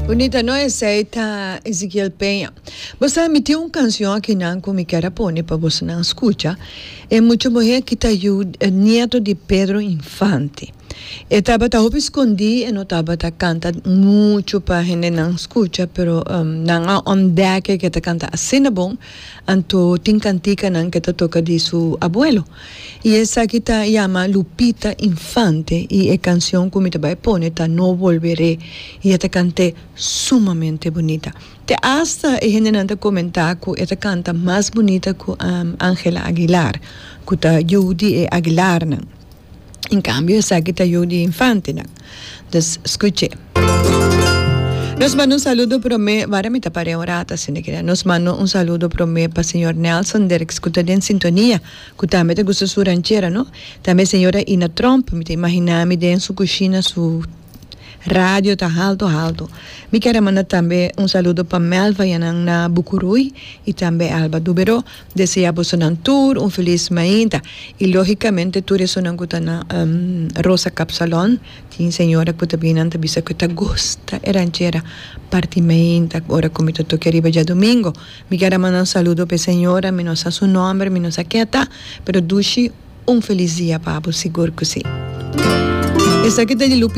Bunita no esey ta Ezequiel Peña. Bo sa mi tin un cancion akinan cu mi kier a pone pa bosonan scucha. E mucha muhe aki ta yu nieto di Pedro Infante. E tabata hopi scondi e no tabata canta mucho pa hendenan scucha pero nan a ontdek cu e ta canta asina bon anto tin canticanan cu e ta toca di su abuelo. Y esaki ta yama Lupita Infante y e cancion cu mi ta bay pone ta No Volveré y e ta cant'é sumamente bunita. Te hasta e hendenan ta comenta cu e ta canta mas bunita cu Angela Aguilar cu ta yu di e Aguilarnan. En cambio esaki ta yu di Infantenan. Dus scuch'é. Nos manda un saludo prome, wara mi ta par'é un rato asina keda. Nos manda un saludo prome pa señor Nelson Dirks cu ta den sintonia. Cu tambe ta gusta su ranchera, no? Tambe señora Ina Tromp, mi ta imagina mi den su cushina, su radio ta halto halto. Mi kier a manda tambe un saludo pa Melva yanan na Bucuruy y tambe Alba Dubero. Desea bosonan tur un feliz mainta. Y logicamente tur esonan cu ta na Rosa Kapsalon, tin señora cu ta bini nan ta bisa cu ta gusta e ranchera parti mainta ora cu mi ta toca riba djadomingo. Mi kier a manda un saludo pa e señora, mi no sa su nomber, mi no sa ken ta, pero dushi un feliz dia pa bo, sigur cu si. Esaki ta di Lupi.